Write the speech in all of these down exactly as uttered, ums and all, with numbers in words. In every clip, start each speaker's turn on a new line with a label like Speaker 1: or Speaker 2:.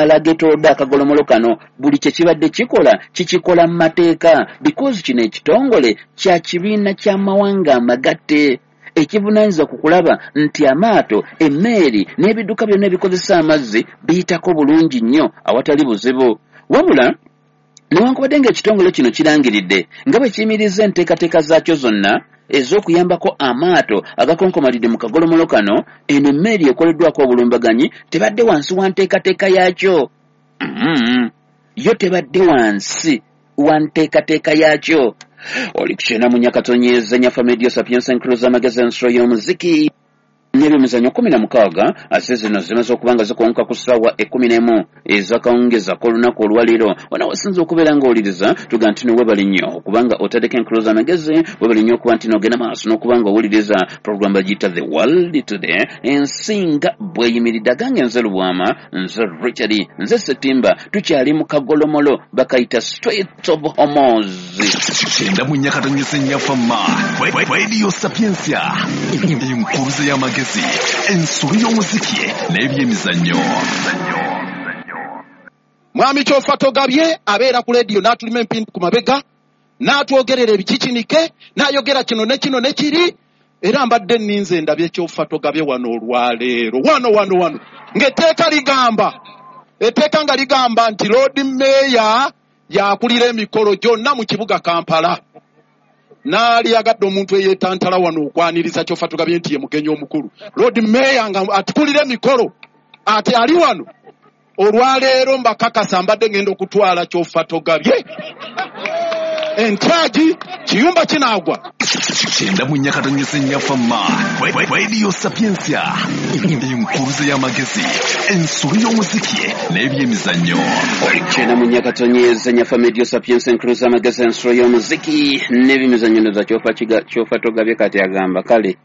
Speaker 1: Amwala ageetoolodde akagolomolo kano buli kye kibadde kikola kikikola mu mateeka, because kino ekitongole kya kibiina ky'amawanga amagatte ekivunaanyizibwa ku kulaba nti amaato, emmeeri n'ebidduka byonna ebikozesa amazzi biyitako bulungi nnyo awatali buzibu. Wabula newankubadde ng'ekitongole kino kirangiridde nga bwe kiyimiriza enteekateeka zaakyo zonna ez'okuyambako amaato agakonkomalidde mu kagolomolo kano, eno emmeeri ekoleddwako obulumbaganyi tebadde wansi wa nteekateeka yaakyo. Mm-hmm. Yo tebadde wansi wa nteekateeka yaakyo. Oli ku kyenda mu nnya katonyeza Nyafa Media Sapientia Encruza amagezi ensolo y'omuziki n'ebyemizannyo kumi na mukaaga ate zino zimaze okuba nga zikonka ku ssaawa ekkumi n'emu ez'akawungeezi ak'olunaku olwaleero. Wano wasinza okubeera ng'owuliriza tuga nti no weebale nnyo okubanga otaddeko enkuluza amagezi, weebale nnyo okuba nti n'ogenda maaso n'okuba nga owuliriza program bagiyita The World Today, ensi nga bw'eyimiridde. Agange nze Lubwama, nze Richard, nze Ssetimba, tukyali mu kagolomolo bakayita Strait of Hormuz.
Speaker 2: Kyenda mu nnya katonyeza Nyafa Ma Radio Sapientia, enkuluza y'amagezi, ensolo y'omuziki n'ebyemizannyo.
Speaker 3: Mwami Kyofa Togabye abeera ku leediyo n'atulima empindi ku mabega, n'atwogerera ebikikinike, n'ayogera kino ne kino ne kiri. Era mbadde nninze ndabye Kyofa Togabye wano olwaleero, wano wano wano, ng'etteeka ligamba, etteeka nga ligamba nti Lord Mayor yakulira emikolo gyonna mu kibuga Kampala. Naali yagadde omuntu eyeetantala wano okwaniriza Kyofa Togabye nti ye mugenyi omukulu. Lord Mayor nga atukulira emikolo ate ali wano olwaleero. Mbakakasa mbadde ngenda okutwala Kyofa Togabye entagi kiyumba kinaagwa.
Speaker 2: Kyenda mu nnya katonyeza Nyafa Ma Radio Sapientia, enkuluza y'amagezi, ensolo y'omuziki n'ebyemizannyo.
Speaker 1: Kyenda mu nnya katonyeza Nyafa Media Sapientia enkuluza amagezi, ensolo y'omuziki n'ebyemizannyo. Ndoza Kyofa kiga Kyofa Togabye kati agamba kale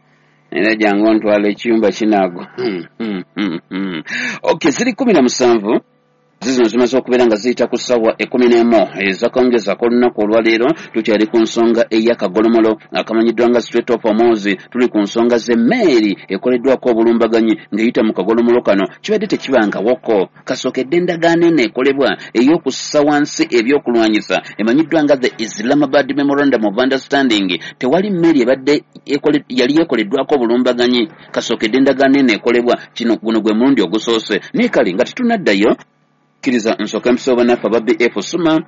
Speaker 1: era jangu ontwala ekiyumba kinaagwa. Okay, ziri kumi na musanvu zizino zimaze okubeera nga ziyita ku ssaawa ekkumi n'emu ez'akawungeezi ak'olunaku olwaleero. Tukyali ku nsonga ey'akagolomolo akamanyiddwa nga Strait of Hormuz. Tuli ku nsonga z'emmeeri ekoleddwako obulumbaganyi ng'eyita mu kagolomolo kano. Kibadde tekibangawoko kasookedde endagaano eno ekolebwa ey'okussa wansi ebyokulwanyisa emanyiddwa nga the Islamabad Memorandum of Understanding. Tewali mmeeri ebadde yali ekoleddwako obulumbaganyi kasookedde endagaano eno ekolebwa. Kino guno gwe mulundi ogusoose. Naye kale nga tetunaddayo, kkiriza nsooka empiso bannaffe aba B F Suma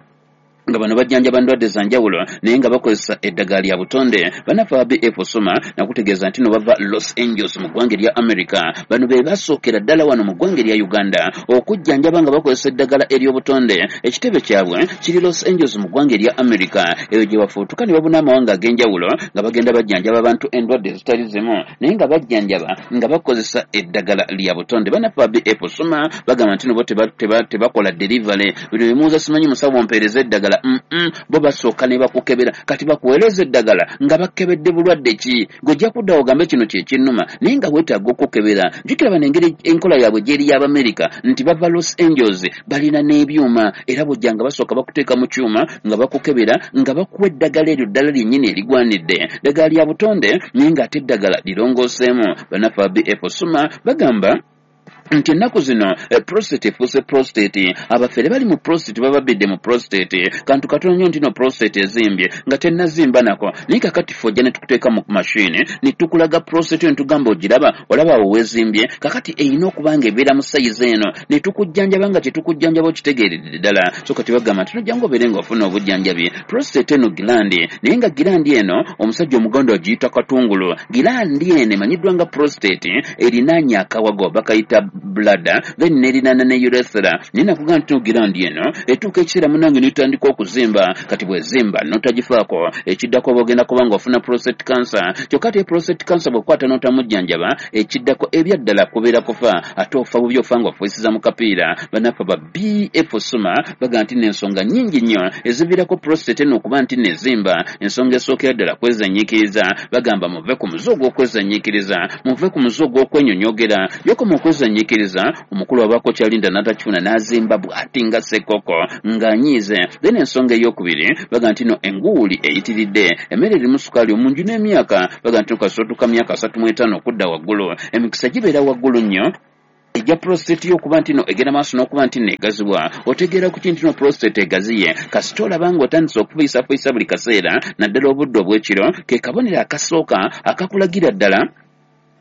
Speaker 1: nga bano bajjanjaba ndwadde za njawulo naye nga bakozesa eddagala lya butonde. Bannaffe aba B F Suma nakutegeeza nti no bava Los Angeles mu ggwanga erya America. Bano be basookera ddala wano mu ggwanga erya Uganda okujjanjaba nga bakozesa eddagala ery'obutonde. Ekitebe kyabwe kiri Los Angeles mu ggwanga erya America, eyo gye bafuutuka ne babuna amawanga ag'enjawulo nga bagenda bajjanjaba abantu endwadde ezitali zimu naye nga bajjanjaba nga bakozesa eddagala lya butonde. Bannaffe aba B F Suma bagamba nti no bo tebakola delivery. Bino bimuuza simanyi musawo mpeereza eddagala. Mm-mm. Bo basooka ne bakukebera. Kati bakuweereza eddagala nga bakebedde bulwadde ki? Gwe kudda ogambe kino kye kinnuma naye nga weetaaga okukebera. Jjukira bano engeri enkola yaabwe gy'eri y'Abamerika nti bava Los Angeles balina n'ebyuma, era bw'ojja nga basooka bakuteeka mu kyuma nga bakukebera nga bakuwa eddagala eryo ddala lyennyini erigwanidde. Ddagala lya butonde naye ng'ate eddagala lirongooseemu. Bannaffe aba B F Suma bagamba nti ennaku zino prostate efuuse prostate. Abafere bali mu prostate bababidde mu prostate. Kantu katono nnyo nti no prostate ezimbye nga tennazimba nako, naye kakati ffe ojja ne tukuteeka mu mashini ne tukulaga prostate ne tugamba ogiraba, olaba awo weezimbye. Kakati erina okuba nga ebeera mu sayizi eno ne tukujjanjaba nga kyetukujjanjaba okitegeeredde ddala. So kati bagamba nti nojja ng'obeere ng'ofuna obujjanjabi. Prostate eno gilandi, naye nga gilandi eno omusajja omuganda agiyita katungulu. Gilandi eno emanyiddwa nga prostate erinaanye akawago bakayita bladder, then nerinaana ne urethra. Naye nakugamba nti gilandi eno etuuka ekiseera munnange n'etandika okuzimba. Kati bw'ezimba n'otagifaako, ekiddako oba ogenda kuba ng'ofuna prostate cancer. Kyokka ate prostate cancer bw'okwata n'otamujjanjaba, ekiddako ebyaddala kubeera kufa, ate ofa bubi, ofa ng'ofuisiza mu kapiira. Bannaffe ba B F Suma bagamba nti n'ensonga nnyingi nnyo eziviirako prostate eno okuba nti n'ezimba. Ensonga esookera ddala kwezanyiikiriza. Bagamba muve ku muze ogw'okwezanyiikiriza, muve ku muze ogw'okwenyonyogera. Yokoma okwezanyiikiriza, omukulu abaako kyalinda n'atakifuna n'azimba bw'ati nga ssekoko ng'anyiize. Then ensonga ey'okubiri bagamba nti no enguuli eyitiridde, emmere erimu sukaali omungi n'emyaka. Bagamba nti kasootuka myaka asatu mu etaano okudda waggulu, emikisa gibeera waggulu nnyo Ejja prostate y'okuba nti no egenda maaso n'okuba nti neegazibwa. Otegeera ku kintu no prostate egaziye kasita olaba ng'otandise okufiisafiisa buli kaseera, naddala obudde obw'ekiro, ke kabonero akasooka akakulagira ddala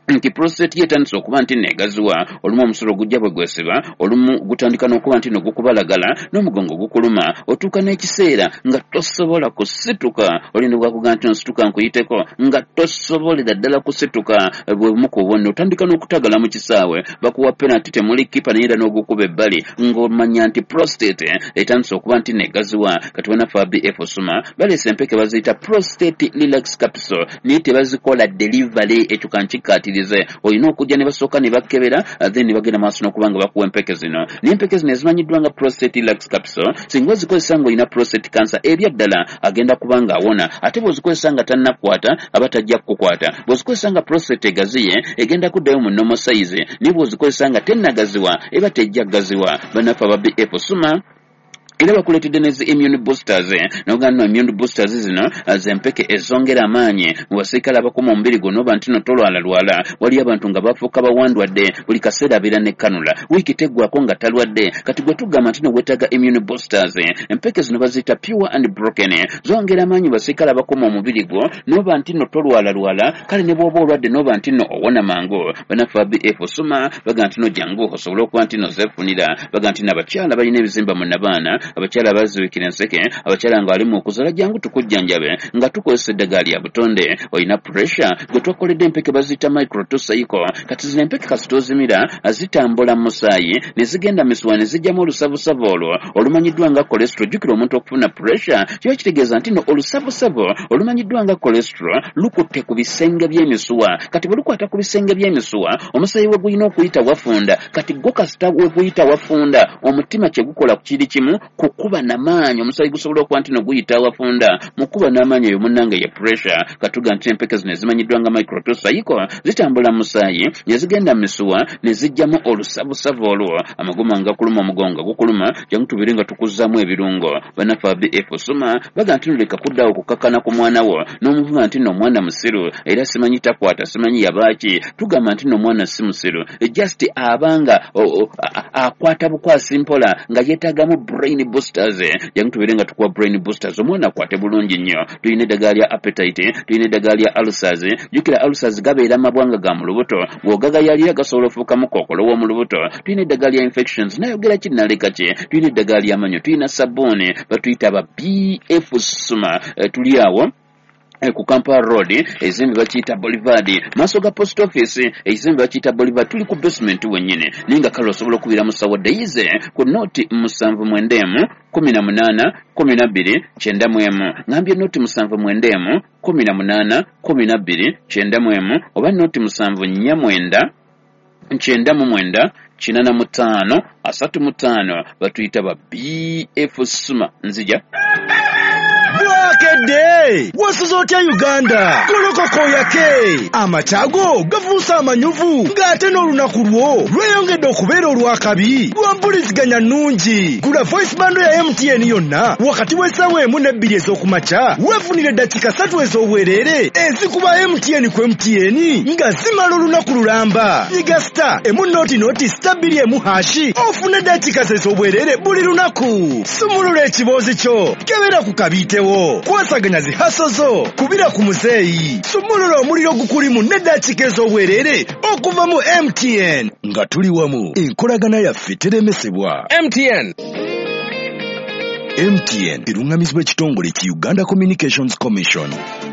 Speaker 1: nti prostate yetandise okuba nti neegaziwa. Olumu omusulo gujja bwe gwesiba, olumu gutandika n'okuba nti no gukubalagala n'omugongo gukuluma, otuuka n'ekiseera nga tosobola kusituka. Olinda bwakuga nti nsituka nkuyiteko, nga tosobolera ddala kusituka. Bwe bumu ku bubonero. Otandika n'okutagala mu kisaawe, bakuwa penalty temuli kipa naye era n'ogukuba ebbali, ng'omanya nti prostate etandise okuba nti neegaziwa. Kati bannaffe aba B F Suma baleese empeke baziyita prostate relax capsule, naye tebazikola delivery. Ekyo kankikkaatirize, olina okujja ne basooka ne bakebera, then ne bagenda maaso n'okuba nga bakuwa empeke zino. Naye empeke zino ezimanyiddwa nga prostate relax capsule, singa ozikozesa ng'olina prostate cancer ebyaddala agenda kuba nga awona. Ate bw'ozikozesa nga tannakukwata aba tajja kukukwata. Bw'ozikozesa nga prostate egaziye egenda kuddayo mu normal size, naye bw'ozikozesa nga tennagaziwa eba tejja kugaziwa. Bannaffe aba B F Suma era bakuleetedde ne zi immune boosters. N'ogamba nno immune boosters zino z'empeke ezongera amaanyi mu basirikale abakuma omubiri gwo n'oba nti no tolwalalwala. Waliyo abantu nga bafuuka bawandwadde, buli kaseera abeera ne kanula, wiiki teggwako nga talwadde. Kati gwe tugamba nti no weetaaga immune boosters. Empeke zino baziyita pure and broken, zongera amaanyi mu basirikale abakuma omubiri gwo n'oba nti no tolwalalwala. Kale ne bw'oba olwadde n'oba nti no owona mangu. Bannaffe aba B F Suma bagamba nti no jangu osobole okuba nti no zeefunira. Bagamba nti n'abakyala balina ebizimba mu nnabaana, abakyala baziwikira enseke, abakyala nga bali mu kuzaala, jangu tukujjanjabe nga tukozesa eddagala lya butonde. Olina pressure, gwe twakoledde empeke baziyita micro two cycle. Kati zino empeke kasita ozimira zitambula mu musaayi ne zigenda misuwa ne zijjamu olusavusavu olwo olumanyiddwa nga cholesterol. Jjukira omuntu okufuna pressure kiba kitegeeza nti no olusavusavu olumanyiddwa nga cholesterol lukutte ku bisenge by'emisuwa. Kati bwe lukwata ku bisenge by'emisuwa, omusaayi we gulina okuyita wafunda. Kati gwo kasita we guyita wafunda, omutima kye gukola kiri kimu, kukuba n'amaanyi. Omusaayi gusobola okuba nti no guyita wafunda, mukuba n'amaanyi eyo munnange ye pressure. Katuga nti empeke zino ezimanyiddwa nga micro two cycle zitambula mu musaayi ne zigenda mu misuwa ne zijjamu olusavusavu olwo. Amaguma nga kuluma, omugongo gukuluma, jangu tubeere nga tukuzzaamu ebirungo. Bannaffe aba B F Suma bagamba nti no leka kuddawo kukakkana ku mwana wo n'omuvuma nti nno omwana musiru era simanyi takwata simanyi yabaaki. Tugamba nti nno omwana si musiru, just abanga akwata bukwasi mpola nga yeetaagamu brain boosters. Jangu tubeere nga tukuwa brain boosters, omwana akwate bulungi nnyo. Tulina eddagala lya appetite, tulina eddagala lya ulcers. Jjukira ulcers gabeera mabwanga ga mu lubuto, bw'ogagayalira gasobola ofuukamu kookolo w'omu lubuto. Tulina eddagala lya infections, nayogera ki naleka ki. Tulina eddagala ly'amannyo, tulina sabbuuni batuyita aba B F Suma. Tuli awo ku Kampala Road, ekizimbe bakiyita Boulevard, maaso ga post office, ekizimbe bakiyita Boulevard, tuli ku basement wennyini. Naye nga kale osobola okubira musawo Daisy ku noti musanvu mwenda emu kumi na munaana kumi na bbiri kyenda mu emu. Ngambye noti musanvu mwenda emu kumi na munaana kumi na bbiri kyenda mu emu, oba noti musanvu nnya mwenda kyenda mu mwenda kinana mu ttaano asatu mu ttaano. Batuyita ba B F Suma. Nzija.
Speaker 4: Bwakedde wasuze otya Uganda? Golokoko yake amakyago gafuuse amanyuvu, ng'ate n'olunaku lwo lweyongedde okubeera olw'akabi lwa mpuliziganya nnungi. Gula voice bando ya M T N yonna wakati w'essaawa emu n'ebbiri ez'okumakya, weefunire eddakiika ssatu ez'obwereere ezikuba M T N ku M T N nga zimala olunaku lulamba. Nyiga star emu noti noti star bbiri emu hashi ofune eddakiika ez'obwereere buli lunaku. Sumulula ekiboozi kyo, kebera ku kabiitewo, kwasaganya zi haso zo, kubira ku muzeeyi, sumulula omuliro gukulimu n'eddakiika ez'obwereere okuva mu M T N. Nga tuli wamu, enkolagana yaffe teremesebwa.
Speaker 5: M T N.
Speaker 4: M T N erungamizibwa ekitongole ki Uganda Communications Commission.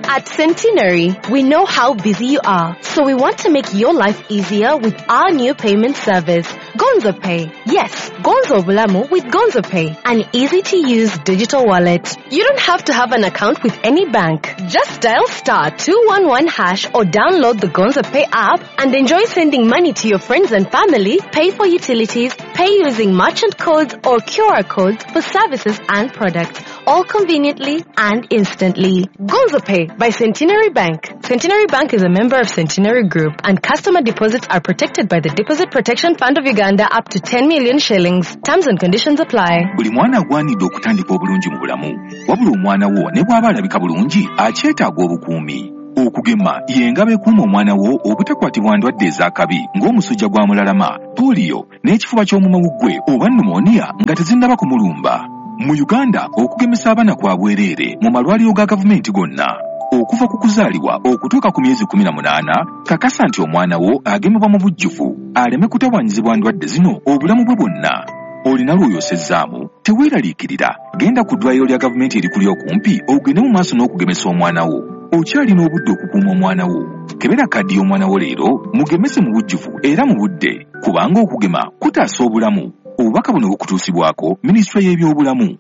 Speaker 6: At Centenary, we know how busy you are, so we want to make your life easier with our new payment service, Gonzo Pay. Yes, Gonzo Bulamu with Gonzo Pay, an easy-to-use digital wallet. You don't have to have an account with any bank. Just dial star two one one hash or download the Gonzo Pay app and enjoy sending money to your friends and family, pay for utilities, pay using merchant codes or Q R codes for services and products, all conveniently and instantly. Gonzo Pay by Centenary Bank. Centenary Bank is a member of Centenary Group, and customer deposits are protected by the Deposit Protection Fund of Uganda up to ten million shillings. Terms and conditions apply.
Speaker 2: Buli mwana agwanidde okutandika obulungi mu bulamu. Wabula omwana wo ne bw'aba alabika bulungi akyetaaga obukuumi.
Speaker 5: Okugema y'engabo ekuuma omwana wo obutakwatibwa ndwadde ez'akabi ng'omusujja gwa mulalama, pooliyo n'ekifuba ky'omumawuggwe oba pneumonia nga tezinnaba kumulumba. Mu Uganda okugemesa abaana kwa bwereere mu malwaliro ga gavumenti gonna. Okuva ku kuzaalibwa okutuuka ku myezi kkumi na munaana, kakasa nti omwana wo agemebwa mu bujjuvu aleme kutawaanyizibwa ndwadde zino obulamu bwe bwonna. Olina lw'oyosezzaamu, teweeraliikirira, genda ku ddwaliro lya gavumenti erikuli okumpi ogende mu maaso n'okugemesa omwana wo. Okyalina obudde okukuuma omwana wo. Kebera kaddi y'omwana wo leero, mugemese mu bujjuvu era mu budde, kubanga okugema kutaasa obulamu. Obubaka buno bukutuusibwako Minisitule y'Ebyobulamu.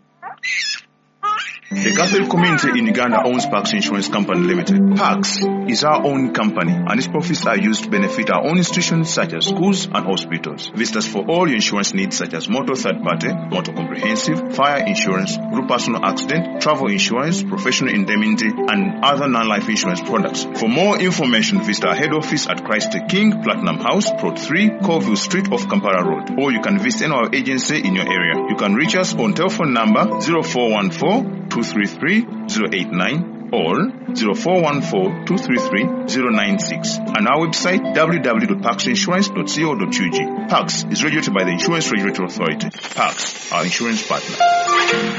Speaker 7: The Catholic community in Uganda owns Pax Insurance Company Limited. Pax is our own company and its profits are used to benefit our own institutions such as schools and hospitals. Visit us for all your insurance needs such as motor third party, motor comprehensive, fire insurance, group personal accident, travel insurance, professional indemnity and other non-life insurance products. For more information, visit our head office at Christ the King, Platinum House, Plot three, Colville Street off Kampala Road. Or you can visit any our agency in your area. You can reach us on telephone number zero four one four two three three zero eight nine or zero four one four two three three zero nine six and our website w w w dot pax insurance dot co dot u g. Pax is regulated by the Insurance Regulatory Authority. Pax, our insurance partner.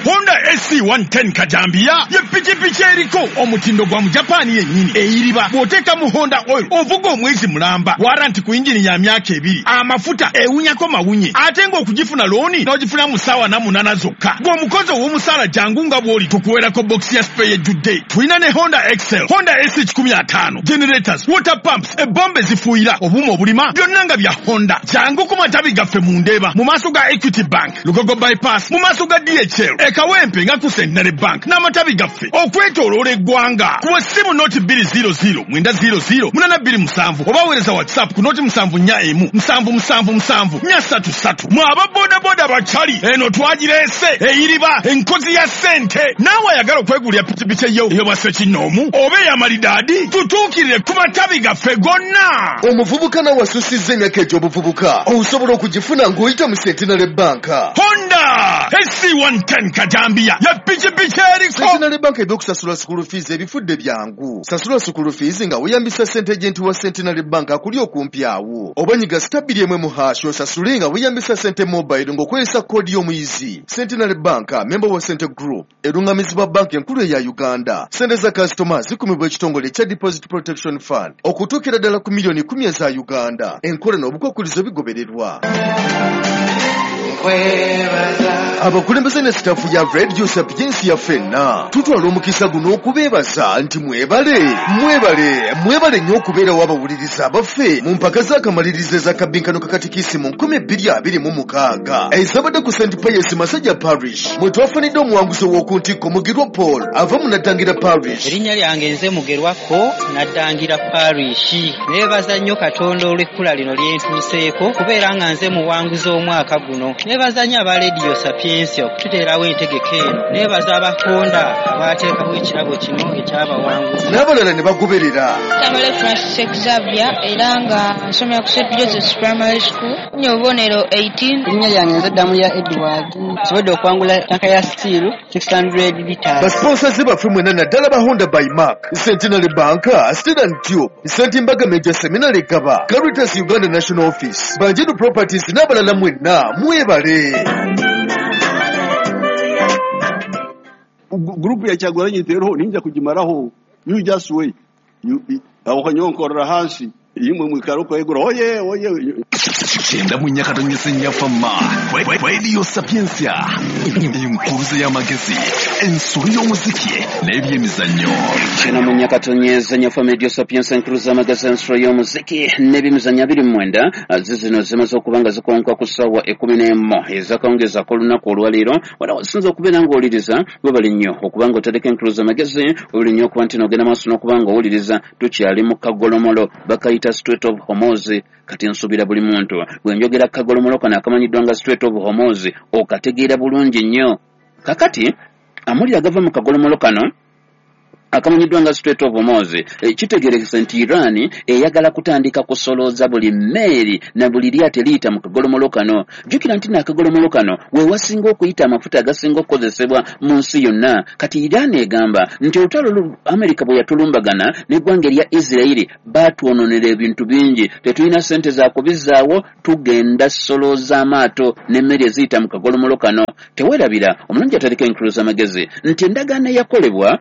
Speaker 8: Honda S C one ten Kajambia ye pikipiki eriko omutindo gwa mu Japan yennyini eyiriba bw'oteeka mu Honda oil ovuga omwezi mulamba waranti ku injini ya myaka ebiri amafuta ewunyako mawunye ate ng'okugifuna looni n'ogifuna mu ssaawa na munaana zokka gw'omukozi ow'omusaala jangu nga bw'oli tukuweerako bokisi ya spare ejjudde. Tulina ne Honda Excel, Honda S kikumi ataano, generators, water pumps, ebombe zifuuyira, obuuma obulima byonna nga bya Honda. Jangu ku matabi gaffe mu Ndeeba mu maaso ga Equity Bank, Lugogo Bypass mu maaso ga D H L, e Kawempe nga ku Centenary Bank n'amatabi gaffe okwetooloola eggwanga. Kuba essimu noti bbiri zero zero mwenda zero zero munaana bbiri musanvu oba weereza WhatsApp ku noti musanvu nnya emu musanvu musanvu musanvu nnya ssatu ssatu. Mwe aba bodaboda bakyali eno twagireese eyiriba enkozi ya ssente. Naawe ayagala okwegulira pikipiki eyo ey'obwa ssekinnoomu oba ey'amalidaadi tutuukirire ku matabi gaffe gonna.
Speaker 9: Omuvubuka nawe asusizza emyaka egy'obuvubuka osobola okugifuna ng'oyita mu Centenary Bank.
Speaker 8: Honda S C one ten Kajambia ya pikipiki eriko.
Speaker 9: Centenary Bank ebyokusasula school fees ebifudde byangu. Sasula school fees nga weeyambisa ssente agent wa Centenary Bank akuli okumpi awo. Oba nyiga star bbiri emu mu hash osasule nga weeyambisa ssente mobile ng'okozesa koodi y'omuyizi. Centenary Bank member wa Cente Group erungamizibwa banka enkulu eya Uganda. Ssente za kasitoma zikumibwa ekitongole ekya Deposit Protection Fund okutuukira ddala ku miliyoni kkumi eza Uganda. Enkola n'obukwakkulizo bigobererwa. Abakulembeze ne sitaafu ya Radio Sapientia ffenna tutwala omukisa guno okubeebaza nti mwebale mwebale mwebale nnyo okubeerawo abawuliriza abaffe mu mpaka z'akamalirizo ez'akabinkano kakatikisi mu nkumi bbiri abiri mu mukaaga ezabadde ku Saint Pius Masajja Parish mwe twafunidde omuwanguzi ow'oku ntikko Mugerwa Paul ava mu Naddangira Parish.
Speaker 10: Erinnya lyange nze Mugerwako Naddangira Parish. Neebaza nnyo Katonda olw'ekkula lino lye ntuuseeko kubeera nga nze muwanguzi omwaka guno. Neebaza nnyo aba Radio Sapientia okututeerawo entegeka eno. Neebaza abakonda abateekawo ekirabo kino ekyabawanguzi
Speaker 9: n'abalala ne bagoberera.
Speaker 11: Tamale Francis Xavier era nga nsomera ku Saint Joseph's Primary School. Nnya obubonero eighteen.
Speaker 12: Erinnya lyange nze Ddamuya Edward. Nsobodde okuwangula tanka ya steel six hundred liters.
Speaker 9: Basponsors baffe mwenna naddala ba Honda by Mark, Centenary Bank, Steel and Tube, Saint Mbaga Major Seminary Gaba, Caritas Uganda National Office, Banjiru Properties n'abalala mwenna mwebale.
Speaker 13: Group ya Kyagulanyi rero ninja kugimaraho you just wait you aho nyonkorera hansi imwe mwikaruko egura oye oye
Speaker 2: kyenda mu nyakatonyese nyafama Radio Sapientia enkuruze y'amagezi ensolo y'omuziki n'ebyemizannyo.
Speaker 1: Kyenda mu nyakatonyese nyafama Radio Sapientia enkuruze y'amagezi ensolo y'omuziki n'ebyemizannyo abiri mu mwenda zizino zimaze okuba nga zikonka ku ssaawa ekkumi n'emu ezakawungeezi ak'olunaku olwaleero. Wala wasinza okubeera ng'owuliriza webale nnyo okuba nga otadeko enkuruze y'amagezi webale nnyo okuba nti n'ogenda maaso n'okuba nga owuliriza. Tukyali mu kagolomolo bakayita Strait of Hormuz. Kati nsuubira buli muntu bwe njogera kagolomolo kano akamanyiddwa nga Strait of Hormuz okategeera bulungi nnyo. Kakati amulira agava mu kagolomolo kano Akamanyiddwa nga Strait of Hormuz. E, kitegeerekese nti Iran eyagala kutandika kusolooza buli mmeeri na buli lyato eriyita mu kagolomolo kano. Jjukira nti n'akagolomolo kano we wasinga okuyita amafuta agasinga okukozesebwa mu nsi yonna. Kati Iran egamba nti olutalo lu Amerika bwe yatulumbagana n'eggwanga erya Isirayiri baatwononera ebintu bingi, tetulina ssente za kubizzaawo, tugenda solooza amaato n'emmeri eziyita mu kagolomolo kano. Teweerabira omulungi ataleka enkuluza amagezi nti endagaano eyakolebwa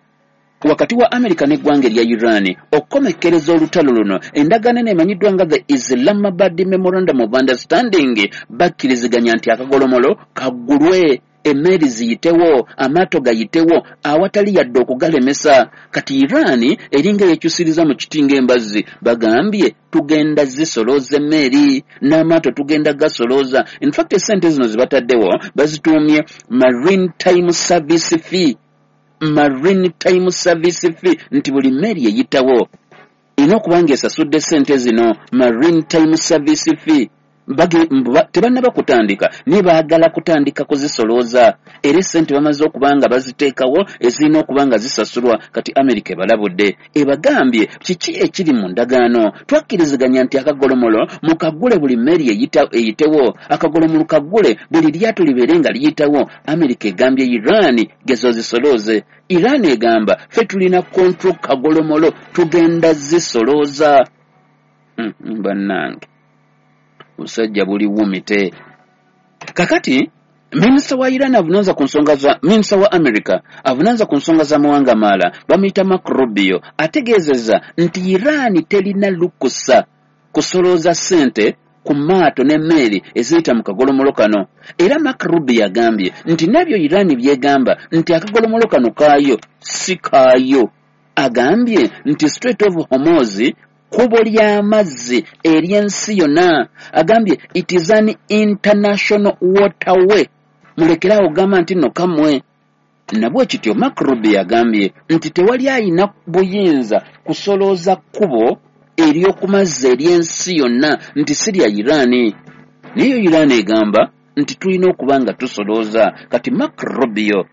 Speaker 1: wakati wa Amerika n'eggwanga erya Iran okukomekkereza olutalo luno, endagaano eno emanyiddwa nga the Islamabad Memorandum of Understanding, bakkiriziganya nti akagolomolo kaggulwe, emmeri ziyitewo, amaato gayitewo awatali yadde okugalemesa. Kati Iran eringa yekyusiriza mu kiti ng'embazzi, bagambye tugenda zisolooza emmeri n'amaato tugenda gasolooza. In fact essente zino zibataddewo bazituumye Maritime Service Fee, Maritime Service Fee, nti buli mmeri eyitawo erina okuba ng'esasudde ssente zino Maritime Service Fee. Tebannaba kutandika naye baagala kutandika kuzisolooza, era essente bamaze okuba nga baziteekawo ezirina okuba nga zisasulwa. Kati Amerika ebalabudde, ebagambye kiki ekiri mu ndagaano. Twakkiriziganya nti akagolomolo mukaggule buli mmeri eyitewo, akagolomolo kaggule buli lyato libeere nga liyitawo. Amerika egambye Iran gezo zisolooze. Iran egamba ffe tulina control kagolomolo, tugenda zisolooza. Bannange busajja buli wumite. Kakati minisita wa Iran avunaanza ku nsonga za minisita wa America avunaanza ku nsonga z'amawanga amalala bamuyita Marco Rubio ategeezezza nti Iran terina lukusa kusolooza ssente ku maato n'emmeri eziyita mu kagolomolo kano. Era Marco Rubio agambye nti nabyo Iran byegamba nti akagolomolo kano kaayo si kaayo. Agambye nti Strait of Hormuz kkubo ly'amazzi ery'ensi yonna. Agambye it is an international waterway, mulekerawo gamba nti nno kammwe. Nabwe kityo Marco Rubio agambye nti tewali ayina buyinza kusolooza kkubo ery'okumazzi ery'ensi yonna nti si lya Iran. Naye Iran egamba nti tulina okuba nga tusolooza. Kati Marco Rubio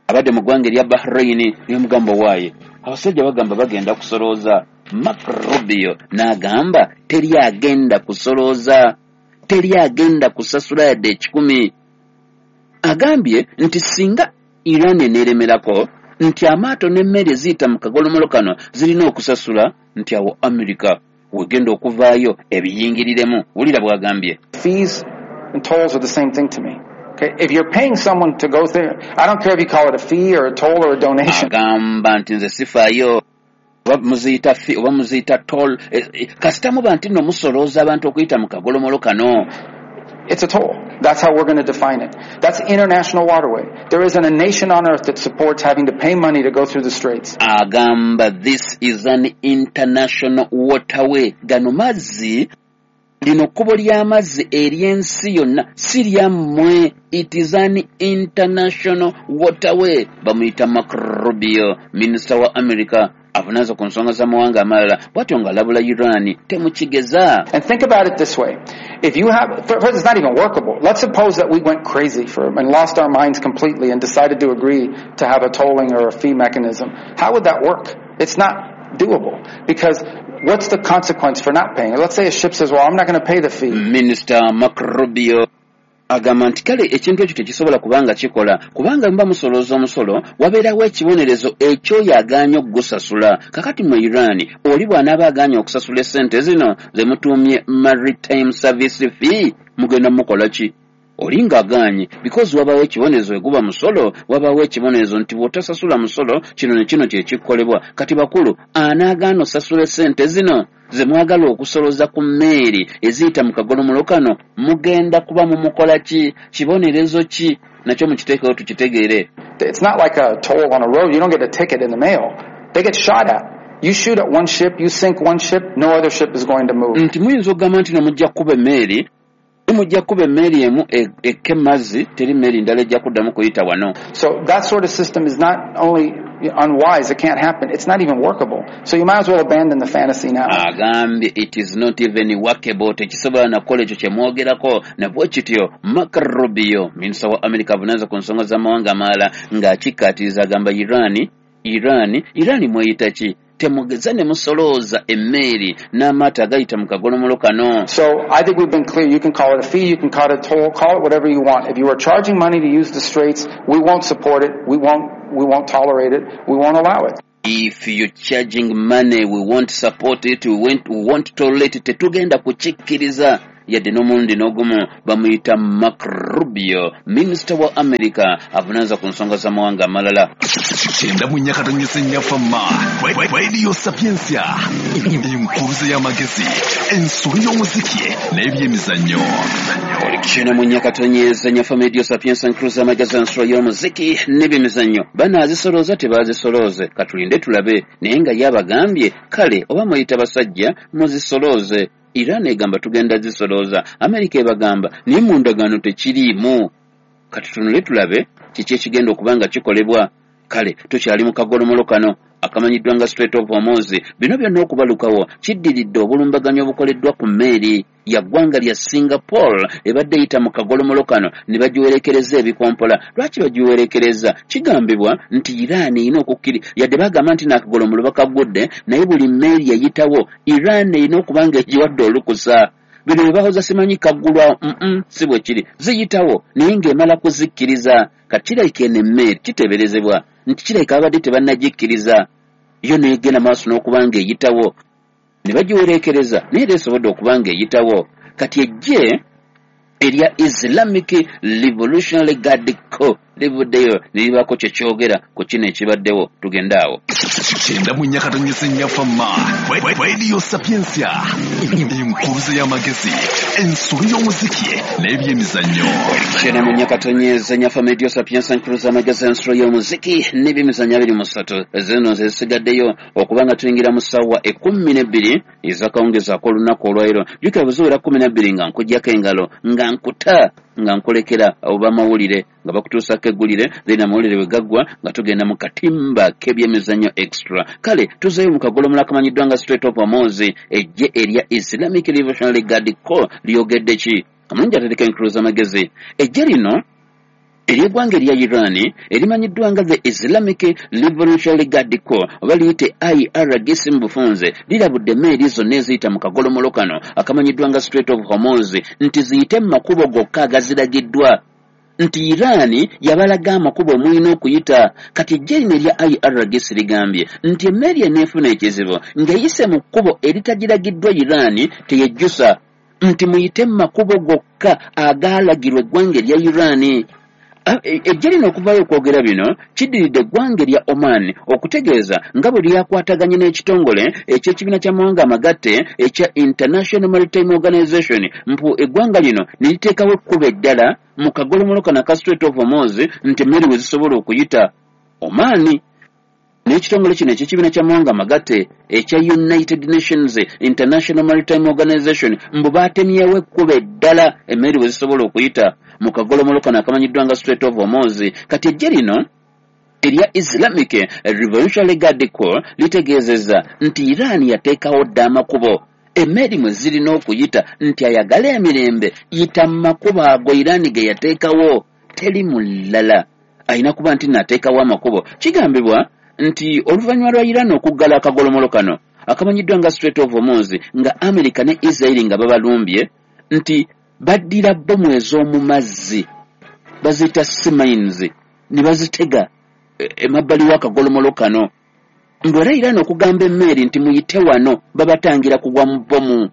Speaker 1: abadde mu ggwanga erya Bahrain n'omugamba waaye abasajja bagamba bagenda kusolooza. Marco Rubio n'agamba teri agenda kusolooza, teri agenda kusasula yadde ekikumi. Agambye nti singa Iran eneeremerako nti amaato n'emmere eziyita mu kagolomolo kano zirina okusasula, nti awo Amerika wegenda okuvaayo ebiyingiriremu. Wulira bw'agambye.
Speaker 14: Fees and tolls are the same thing to me. Okay, if you're paying someone to go there, I don't care if you call it a fee or a toll or a donation.
Speaker 1: Agamba nti nze sifaayo oba muziyita fee oba muziyita toll, kasita muba nti nno musolooza abantu okuyita mu kagolomolo kano.
Speaker 14: It's a toll. That's how we're going to define it. That's international waterway. There isn't a nation on earth that supports having to pay money to go through the straits.
Speaker 1: Agamba this is an international waterway. Gano mazzi, lino kkubo ly'amazzi ery'ensi yonna si lyammwe. It is an international waterway. Bamuyita Marco Rubio, minisita wa America avunaanza ku nsonga z'amawanga amalala, bw'atyo ng'alabula Iran temukigeza.
Speaker 14: And think about it this way. If you have, first, it's not even workable. Let's suppose that we went crazy for and lost our minds completely and decided to agree to have a tolling or a fee mechanism. How would that work? It's not doable because what's the consequence for not paying? Let's say a ship says, well, I'm not going to pay the fee.
Speaker 1: Minister Marco Rubio agamba nti kale ekintu ekyo tekisobola kubanga kikola, kubanga muba musolooza omusolo wabeerawo ekibonerezo ekyoyo agaanye okugusasula. Kakati mu Iran oli bw'anaaba agaanye okusasula essente zino ze mutuumye Maritime Service Fee, mugenda mukola ki? Oli ng'agaanye because wabawo ekibonerezo eguba musolo, wabawo ekibonerezo nti bw'otasasula musolo kino ne kino kye kikolebwa. Kati bakulu anaagaana osasula essente zino ze mwagala okusolooza ku mmeeri eziyita mu kagolomolo kano, mugenda kuba mumukola ki? Kibonerezo ki? Nakyo mukiteekewo tukitegeere.
Speaker 14: It's not like a toll on a road. You don't get a ticket in the mail. They get shot at. You shoot at one ship, you sink one ship, no other ship is going to move.
Speaker 1: Nti muyinza okugamba nti no mujja kukuba emmeeri, mujja kukuba emmeeri emu ekka emazzi, teri mmeri ndala ejja kuddamu kuyita wano.
Speaker 14: So that sort of system is not only unwise, it can't happen. It's not even workable. So you might as well abandon the fantasy now.
Speaker 1: Agambye it is not even workable, tekisobola na kukola ekyo kye mwogerako. Na bwe kityo Marco Rubio, minisita wa Amerika avunaanza ku nsonga z'amawanga amalala, ng'akikkaatiriza agamba Iran Iran Iran mweyita ki temugeza ne musolooza emmeeri n'amaato agayita mu kagolomolo kano.
Speaker 14: So I think we've been clear. You can call it a fee, you can call it a toll, call it whatever you want. If you are charging money to use the straits, we won't support it, we won't, we won't tolerate it, we won't allow it.
Speaker 1: If you're charging money, we won't support it, we won't, we won't tolerate it. Tetugenda kukikkiriza yadde n'omulundi n'ogumu. Bamuyita Marco Rubio, minisita wa America avunaanyizibwa ku nsonga z'amawanga amalala.
Speaker 2: Kyenda mu nnya katonyese nnyafama Radio Sapientia, enkuruze y'amagezi, ensolo y'omuziki n'ebyemizannyo.
Speaker 1: Kyenda mu nnya katonyeze nnyafama Radio Sapientia, enkuruze y'amagezi, ensolo y'omuziki n'ebyemizannyo. Banaazisolooza tebaazisolooze, katulinde tulabe. Naye nga yabagambye kale oba muyita basajja muzisolooze. Iran egamba tugenda zisolooza, Amerika ebagamba naye mu ndagaano tekiriimu. Kati tunule tulabe kiki ekigenda okuba nga kikolebwa. Kale tukyali mu kagolomolo kano akamanyiddwa nga Strait of Hormuz. Bino byonna okubalukawo kiddiridde obulumbaganyi obukoleddwa ku mmeeri ya ggwanga lya Singapore ebadde eyita mu kagolomolo kano ne bagiwerekereza ebikompola. Lwaki bagiwerekereza? Kigambibwa nti Iran erina okukkiri, yadde bagamba nti n'akagolomolo bakagudde, naye buli mmeeri eyitawo Iran erina okuba nga egiwadde olukusa. Bino bye bahoza simanyi kaggulwa, mm si bwe kiri, ziyitawo naye ng'emala kuzikkiriza. Kati kirabika eno emmeeri kiteeberezebwa nti kirabika babadde tebannagikkiriza, yo n'egenda maaso n'okuba ng'eyitawo ne bagiwerekereza, naye era esobodde okuba ng'eyitawo. Kati eggye erya Islamic Revolutionary Guard Corps livuddeyo ne libaako kye kyogera ku kino ekibaddewo. Tugende awo.
Speaker 2: Kyenda mu nnya katonyese nnyafama Radio Sapientia, enkuruze y'amagezi, ensolo y'omuziki n'ebyemizannyo.
Speaker 1: Kyenda mu nnya katonyeze nnyafama Radio Sapientia, enkuruze y'amagezi, ensolo y'omuziki n'ebyemizannyo abiri mu ssatu. Zino zisigaddeyo okuba nga tuyingira mu ssaawa ekkumi n'ebbiri ez'akawungeezi ak'olunaku olwaleero. Jjukira bwe ziwera kkumi na bbiri nga nkuggyako engalo, nga nkuta, nga nkulekera obamawulire nga bakutuusako eggulire, then amawulire bwe gaggwa nga tugenda mu katimba k'ebyemizannyo extra. Kale tuzeeyo mu kagolomolo akamanyiddwa nga Strait of Hormuz. Eggye erya Islamic Revolutionary Guard Corps lyogedde ki? Omulungi atereka enkuluza amagezi. Eggye lino ery'eggwanga erya Iran erimanyiddwa nga the Islamic Revolutionary Guard Corps oba liyite I R G C mu bufunze, lirabudde emmeeri zonna eziyita mu kagolomolo kano akamanyiddwa nga Strait of Hormuz nti ziyite mu makubo gokka agaziragiddwa, nti Iran yabalaga amakubo mulina okuyita. Kati eggye lino erya I R G C ligambye nti emmeeri eneefuna ekizibu ng'eyise mu kkubo eritagiragiddwa Iran teyejjusa, nti muyite mu makubo gokka agaalagirwa eggwanga erya Iran. Eggye lino okuvaayo okwogera bino kiddiridde eggwanga erya Oman okutegeeza nga bwe lyakwataganye n'ekitongole eky'ekibiina ky'amawanga amagatte ekya International Maritime Organization, mpu eggwanga lino ne liteekawo ekkubo eddala mu kagolomolo kano aka Strait of Hormuz nti emmeri we zisobola okuyita. Oman n'ekitongole kino eky'ekibiina ky'amawanga amagatte ekya United Nations International Maritime Organization mbu baatemyewo ekkubo eddala emmeri we zisobola okuyita mu kagolomolo kano akamanyiddwa nga Strait of Hormuz. Kati eggye lino erya Islamic Revolutionary Guard Corps litegeezezza nti Iran yateekawo dda amakubo emmeri mwe zirina okuyita, nti ayagala emirembe yita mu makubo ago Iran ge yateekawo, teri mulala alina kuba nti naateekawo amakubo. Kigambibwa nti oluvannyuma lwa Iran okuggala akagolomolo kano akamanyiddwa nga Strait of Hormuz nga America ne Israel nga babalumbye, nti baddira bbomu ez'omu mazzi baziyita sea mines ne bazitega emabbali w'akagolomolo kano. Mbu era Iran okugamba emmeeri nti muyite wano babatangira kugwa mu bbomu,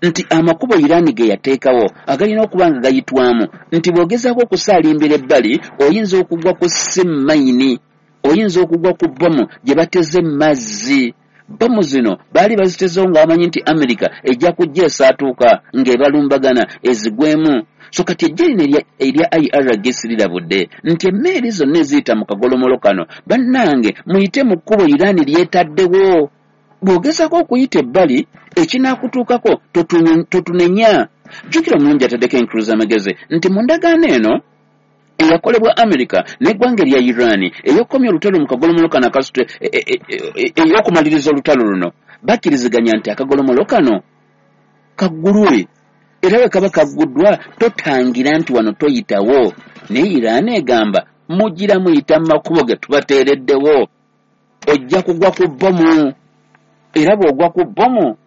Speaker 1: nti amakubo Iran ge yateekawo agalina okuba nga gayitwamu, nti bw'ogezaako okusaalimbira ebbali oyinza okugwa ku sea mine, oyinza okugwa ku bbomu gye bateze mazzi. Bbomu zino baali bazitezeewo nga bamanyi nti America ejja kujja esaatuuka ng'ebalumbagana ezigwemu. So kati eggye lino erya I R G C lirabudde nti emmeeri zonna eziyita mu kagolomolo kano bannange muyite mu kkubo Iran lyetaddewo. Bw'ogezaako okuyita ebbali ekinaakutuukako totunenya. Jjukira omulungi ataddeko enkuluza amagezi nti mu ndagaano eno eyakolebwa America n'eggwanga erya Iran ey'okukomya olutalo mu kagolomolo kano akasitwe ey'okumaliriza olutalo luno, bakkiriziganya nti akagolomolo kano kaggulwe, era bwe kaba kagguddwa totangira nti wano toyitawo. Naye Iran egamba mugira muyita mu makubo ge tubateereddewo. Ojja kugwa ku bbomu, era bw'ogwa ku bbomu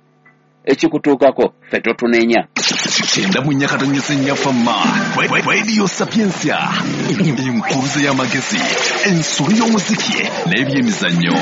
Speaker 1: ekikutuukako ffe totunenya.
Speaker 2: Kyenda mu nnya katonyeze nnya Fama Radio Sapientia, enkuruze y'amagezi, ensolo y'omuziki n'ebyemizannyo.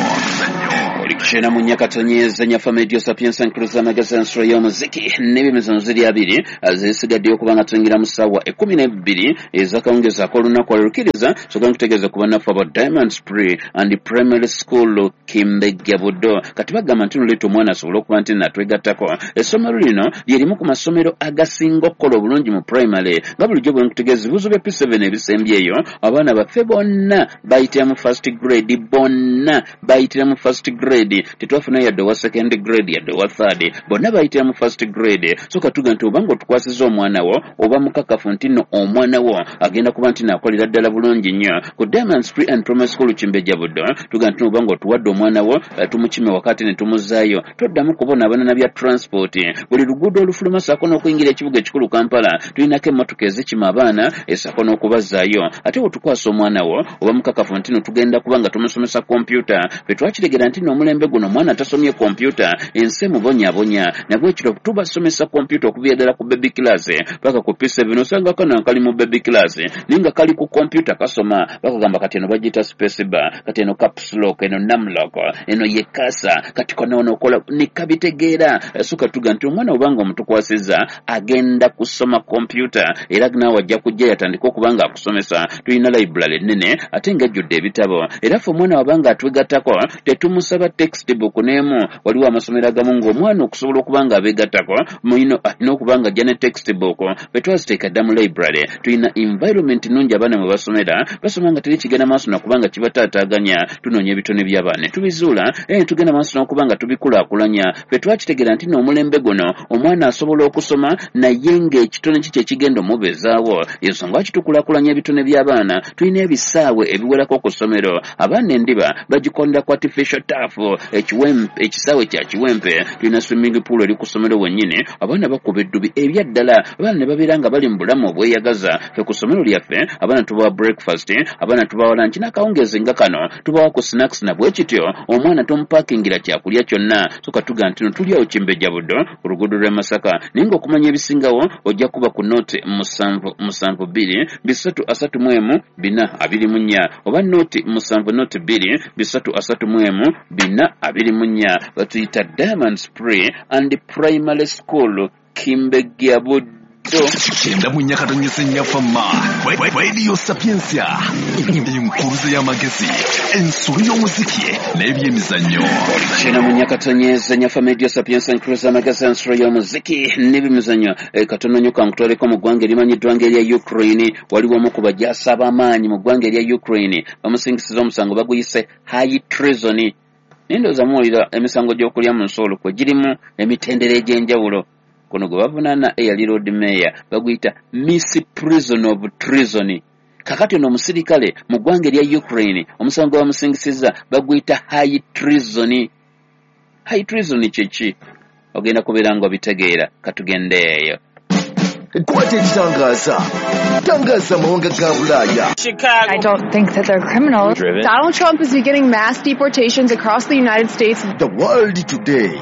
Speaker 1: Kyenda mu nnya katonyeze nnya Fama Radio Sapientia, enkuruze y'amagezi, ensolo y'omuziki n'ebyemizannyo ziri abiri zisigaddeyo kubanga tuyingira mu ssaawa ekkumi n'ebbiri ez'akawungeezi ak'olunaku olukiriza. Soka nkutegeeza ku bannaffe aba Diamond Spray and Primary School Kimbegga Buddo. Kati bagamba nti noleeta omwana asobole okuba nti natwegattako. Essomero lino lye limu ku masomero agasinga okukola obulungi mu primary, nga bulijjo bwe nkutegeeza ebibuuzo bya P seven ebisembyeyo abaana baffe bonna bayitira mu first grade, bonna bayitira mu first grade. Tetwafuna yadde owa second grade yadde owa third, bonna bayitira mu first grade. So katuga nti obanga otukwasiza omwana wo oba mukakafu nti nno omwana wo agenda kuba nti naakolera ddala bulungi nnyo. Ku Diamond Spray and Primary School Kimbejja Buddo tuga nti obanga otuwadde omwana wo tumukime wakati ne tumuzaayo, toddamu kubonaabona bya transport. Buli luguudo olufuluma ssaako n'okuyingira ekibuga ekikulu Kampala tulinako emmotoka ezikima abaana essaako n'okubazaayo. Ate bw'otukwasa omwana wo oba mukakafu nti nno tugenda kuba nga tumusomesa kompyuta. Ffe twakitegera nti nno omulembe guno omwana tasomye kompyuta ensi emubonyaabonya, nabwekityo tubasomesa kompyuta okuviira ddala ku baby class paka ku P seven. Osanga kana kali mu baby class naye nga kali ku kompyuta kasoma, bakagamba kati eno bagiyita space bar, kati eno caps lock, eno num lock, eno ye kasa, kati kona ono okola ne kabitegeera. So katuga nti omwana obanga omutukwasizza agenda kusoma kompyuta era naawe ajja kujja yatandika okuba nga akusomesa. Tulina library ennene ate ng'ejjudde ebitabo, era ffe omwana wabanga atwegattako tetumusaba textbook n'emu. Waliwo amasomero agamu ng'omwana okusobola okuba nga abeegattako mulina alina okuba nga ajja ne textbook. Bwe twaziteeka dda mu library, tulina environment nnungi abaana mwe basomera, basoma nga teri kigenda maaso nakuba nga kibataataaganya. Tunoonya ebitone by'abaana ne tubizuula era ne tugenda maaso n'okuba nga tubikulaakulanya. Ffe twakitegeera nti n'omulembe guno omwana asobola okusoma naye ng'ekitone ki kye kigenda omubeezaawo. Ensonga lwaki tukulaakulanya ebitone by'abaana, tulina ebisaawe ebiwerako ku ssomero. Abaana endiba bagikondera ku artificial turf, ekisaawe kya Kiwempe. Tulina swimming pool eri ku ssomero wennyini, abaana bakuba eddubi ebyaddala, abaana ne babeera nga bali mu bulamu obweyagaza. Ffe ku ssomero lyaffe abaana tubawa breakfast, abaana tubawa lunch n'akawungeezi nga kano tubawa ku snacks, na bwe kityo omwana tomupakingira kyakulya kyonna. So katuga nti no tuli awo Kimbejja Buddo ku luguudo lw'e Masaka, naye ng'okumanya ebisingawo ojja kuba ku nooti musanvu musanvu bbiri bisatu asatu mu emu bina abiri mu nnya oba nooti musanvu nooti bbiri bisatu asatu mu emu bina abiri mu nnya. Batuyita Diamond Spray and Primary School Kimbejja Buddo.
Speaker 2: Kyenda mu nnya katonyeze nnya Fama Radio Sapientia, enkuruze y'amagezi, ensolo y'omuziki n'ebyemizannyo.
Speaker 1: Kyenda mu nnya katonyeze nnya Fama Radio Sapientia, enkuruze y'amagezi, ensolo y'omuziki n'ebyemizannyo. Katono nnyo kankutwaleko mu ggwanga erimanyiddwa ng'erya Ukraine. Waliwo omu ku bajaasi ab'amaanyi mu ggwanga erya Ukraine bamusingisiza omusango baguyise high treason. Naye ndowooza muwulira emisango gy'okulya mu nsi olukwe girimu emitendera egy'enjawulo. Kuno gwe bavunaana eyali Lord Mayor baguyita Miss Prison of Treason. Kakati ono omusirikale mu ggwanga erya Ukraine omusango gwe bamusingisiza baguyita high treason. High treason kye ki? Ogenda kubeera ng'obitegeera. Katugende eyo.
Speaker 9: Kwata ekitangaza, tangaza amawanga ga Bulaaya.
Speaker 15: I don't think that they're criminals.
Speaker 9: Driven.
Speaker 15: Donald Trump is beginning mass deportations across the United States.
Speaker 9: The World Today,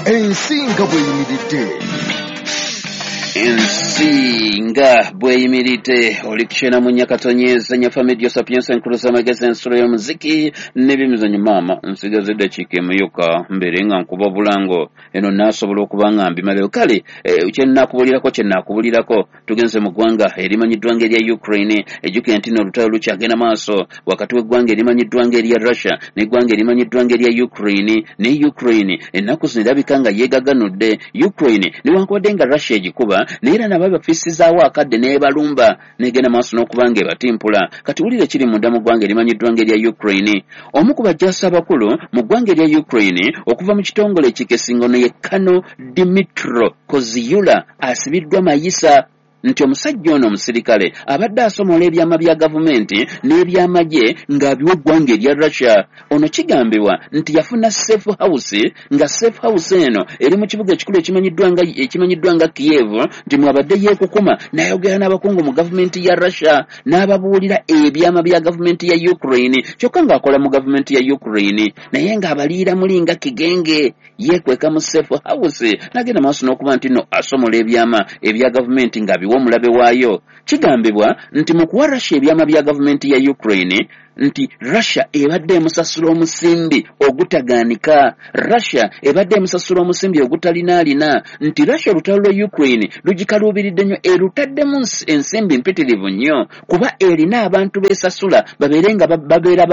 Speaker 9: ensi nga bw'eyimiridde.
Speaker 1: Ensi nga bw'eyimiridde. Oli kukyena mu nnyakatonyeza nnya Fama Radio Sapientia, enkuruza amagezi, ensolo y'omuziki n'ebyemizannyo. Maama nsigaza eddakiika emu yokka mbeere nga nkuba obulango eno naasobola okuba nga mbimalayo. Kale kye nnaakubulirako kye nnaakubulirako, tugenze mu ggwanga erimanyiddwa ng'erya Ukraine. Ejjukira nti nno olutalo lukyagenda maaso wakati w'eggwanga erimanyiddwa ng'erya Russia n'eggwanga erimanyiddwa ng'erya Ukraine. Ne Ukraine ennaku zino erabika nga yeegaganudde. Ukraine newankubadde nga Russia egikuba, naye era nabo bafissizaawo akadde n'ebalumba n'egenda maaso n'okuba nga ebatimpula. Kati wulira ekiri munda mu ggwanga erimanyiddwa ng'erya Ukraine. Omu ku bajaasi abakulu mu ggwanga erya Ukraine okuva mu kitongole ekikesingono ye Kano Dmytro Koziula asibiddwa mayisa. Nti omusajja ono omusirikale abadde asomola ebyama bya gavumenti n'ebyamagye ng'abiwa eggwanga erya Russia. Ono kigambibwa nti yafuna safe house, nga safe house eno eri mu kibuga ekikulu ekimanyiddwa nga ekimanyiddwa nga Kiev, nti mwabadde yeekukuma n'ayogera n'abakungu mu gavumenti ya Russia n'ababuulira ebyama bya gavumenti ya Ukraine, kyokka ng'akola mu gavumenti ya Ukraine naye ng'abaliira muli nga kigenge, yeekweka mu safe house n'agenda maaso n'okuba nti no asomola ebyama ebya gavumenti ng'abiwa omulabe waayo. Kigambibwa nti mu kuwa Russia ebyama bya gavumenti ya Ukraine, nti Russia ebadde emusasula omusimbi ogutagaanika, Russia ebadde emusasula omusimbi ogutalinaalina, nti Russia olutalo lwa Ukraine lugikaluubiridde nnyo, erutaddemu ensimbi mpitirivu nnyo, kuba erina abantu beesasula babeere nga babeera